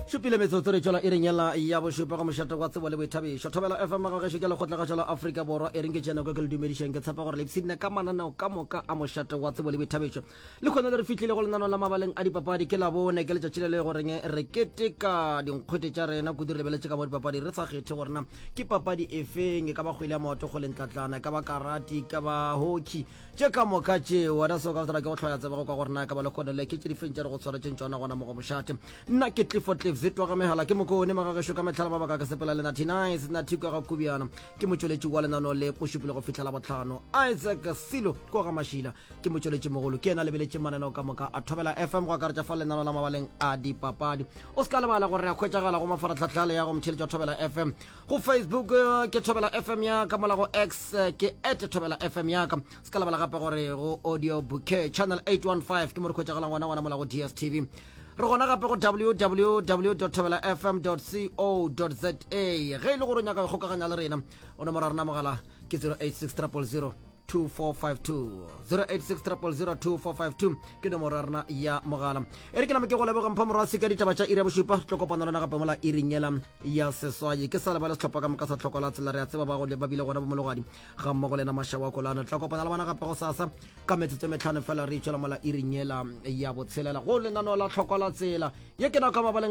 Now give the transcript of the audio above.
Šupile metsotso re tšwela iring yela ya bošupa go mošate wa tsebo le boithabišo. Thobela FM ga gešo ke lekgotlagašo la Afrika Borwa. E reng ke tšea nako ke le dumedišeng. Ke tshepa gore le ipshinne ka mananeo ka moka a mošate wa tsebo le boithabišo. Lehono le re fihlile go lenaneo la mabaleng a dipapadi. Ke Labone, ke letšatši le le goreng re keteka dinkgwete tša rena kudu re lebeletše ka mo dipapadi re sa kgethe gore na ke papadi efeng, e ka ba kgwele ya maoto, kgwele ntlatlana, e ka ba karate, e ka ba hockey. Tše ka moka tše, wena seo ka tsela ke go hloya tseba go kwa gore na e ka ba lehono le ke tše difeng tše re go tshwaretšeng tšona gona mo go mošate. Nna ke Clifford Cliff Zitwa ga megala ke mokone magagešo ka mehlala mabaka ke sepela le Nathi Nice Nathi kwa ga Kubiana ke motšweletši wa lenano le mošupile go fihla Labohlano. Isaac Silo kwa ga Mašila ke motšweletši mogolo ke yena lebeletše mananeo ka moka a Thobela FM go akaretša fa lenano la mabaleng a dipapadi. O se ka lebala gore re a hwetšagala go mafaratlhatlha le ya go motšheletši wa Thobela FM go Facebook eh, ke Thobela FM ya ka mola go X eh, ke at Thobela FM ya ka. Se ka lebala gape gore go audio bouquet channel 815 ke mo re hwetšagalang gona gona mola go DSTV. Re gona gape go www thobela fm co za. Ge e le gore o nyaka go ikgokaganya le rena, o nomoro ya rena mogala ke 086 000 2452. 086 000 2452 ke nomoro ya rena ya mogala. E re ke name ke go leboga Mpho Morwasi ka ditaba tša iri ya bošupa. Re tlo kopana le wena gape mola iring yela ya seswai. Ke sa lebale sehlopha ka moka sa Tlhoko la Tsela. Re a tseba ba go ba bile gona bomologadi ga mmogo le yena Mašawa Kolane. Re tla kopana le bona gape gosasa ka metsotso e metlhano fela re itšwela mola iring yela ya botshelela go lenaneo la Tlhoko la Tsela. Ye ke nako ya mabaleng.